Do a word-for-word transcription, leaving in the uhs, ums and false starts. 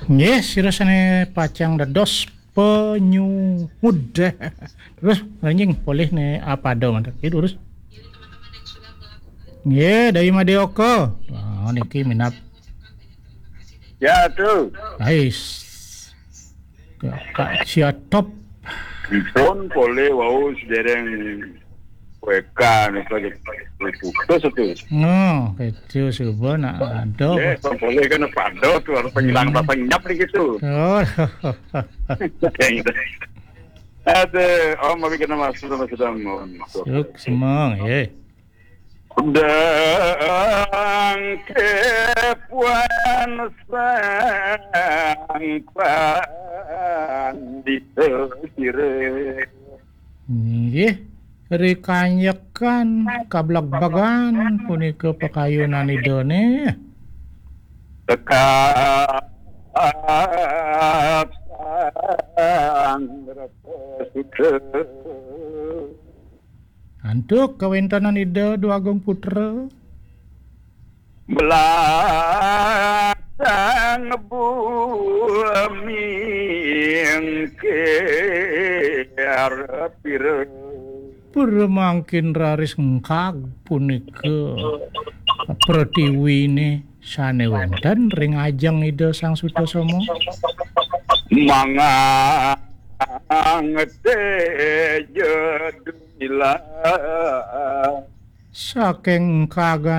Nggih, sira sane pacang dados penyuhud. Terus, anjing, polih ne apa do mantek. Nggih, terus. Nggih, dari Madeoka. Ah, niki minat. Ya, tu. Ais. Kak, Kak Siatop. Dipun polih wau sedereng W K nih, lagi putus itu. No, itu suba nak ada. Ya, pun polih kan pada tu, harus pengilang rasa nyap nih gitu. Oh. Ada, Om, abi kena masuk sama sedang, Om. Suk semang, ya. Dang kepuan sang pandita sira. Nggih, rikanyekan kablagbagan punika pakayunan Idane. Tekap sang Rata Sutra. Antuk kawentenan Ida Dwagung Putra. Belasang bumi engkir pira. Pura mangkin raris engkag punika pratiwine sane wenten ring ajeng Ida Sang Sutasoma. Mangang teja dumilah. Saking engkagan